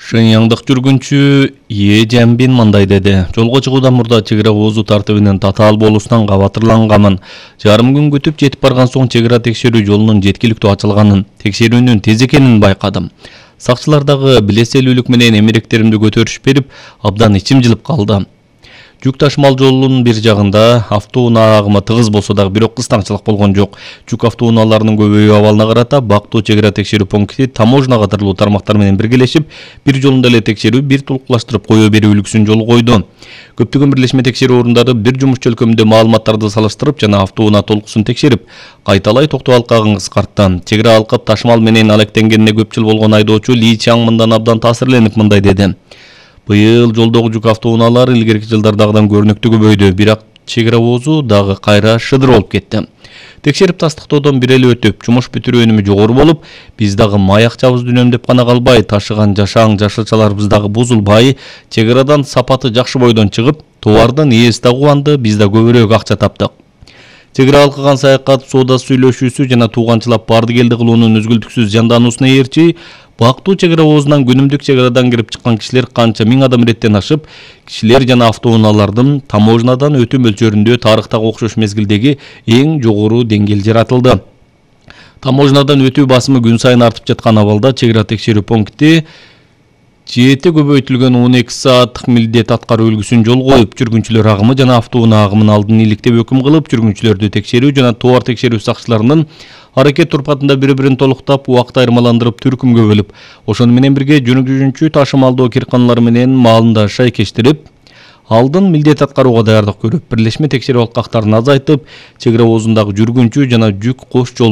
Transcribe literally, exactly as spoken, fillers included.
Шыньяңдык жүргүнчү Е Жамбин мындай деди. Жолго чыгуудан мурда чек ара оозу тартибинин татаал болуусунан кабатырланганмын. Жарым күн күтүп жетип барган соң чек ара текшерүү жолунун жеткиликтүү ачылганын, текшерүүнүн тез экенин байкадым. Сакчылар дагы билеселүүлүк менен эмеректеримди көтөрүш берип, абдан ичим жылып калды. Жүк ташымал жолунун бир жагында автоунаа агымы тыгыз болсо дагы бирок кыстаңчылык болгон жок. Жүк автоунааларынын көбөйүү абалына карата Бактуу чек ара текшерүү пункти таможня катарлуу тармактар менен биргелешип, бир жолунда эле текшерүү, бир толукташтырып кое берүү үлгүсүн жолго койду. Көптөгөн бирлешме текшерүү орундары бир жумуш чөлкөмүндө маалыматтарды салыштырып жана автоунаа толкусун текшерип, кайталай токтоо алкагын кыскартты. Чек ара алкап ташымал менен алектенгенине көп жыл болгон айдоочу Ли Чаң мындан абдан таасирленип мындай деди. Быйыл жолдогу жүк автоунаалары илгерки жылдардагыдан көрүнүктүү көбөйдү, бирок чек ара оозу дагы кайра шыдыр болуп кетти. Текшерип тастыктоодон бир эле өтүп, жумуш бүтүрүү өнүмү жогору болуп, биз дагы маякчабызды үнөмдөп гана калбай, ташыган жашаң жашылчаларыбыз дагы бузулбай, чек арадан сапаты жакшы бойдон чыгып, товардын ээси да кубанды, биз да көбүрөөк акча таптык. Чек ара алкаган саякат, соода сүйлөшүүсү жана тууганчылап барды келди кылуунун үзгүлтүксүз жандануусуна ээрчи, Бактуу чек ара оозунан күнүмдүк чек арадан кирип чыккан кишилер канча миң адам иреттен ашып, кишилер жана автоунаалардын таможнядан өтүү мөлчөрүндө тарыхтагы окшош мезгилдеги эң жогору деңгээл жаратылды. Таможнядан өтүү басымы күн сайын артып жаткан абалда чек ара текшерүү пункти жети көбөйтүлгөн он эки сааттык милдет аткаруу үлгүсүн жолго коюп, жүргүнчүлөр агымы жана автоунаа агымын алдын иликтеп өкүм кылып, жүргүнчүлөрдү текшерүү жана товар текшерүү сакчыларынын аракет турпатында бири-бирин толуктап, убакыт айырмаландырып, түркүмгө бөлүп, ошону менен бирге жүргүнчү ташымалдоо кирканалары менен маалын да шайкештирип, алдын милдет аткарууга даярдык көрүп, бирлешме текшерүү алкактарын азайтып, чек ара оозундагы жүргүнчү жана жүк кош жолун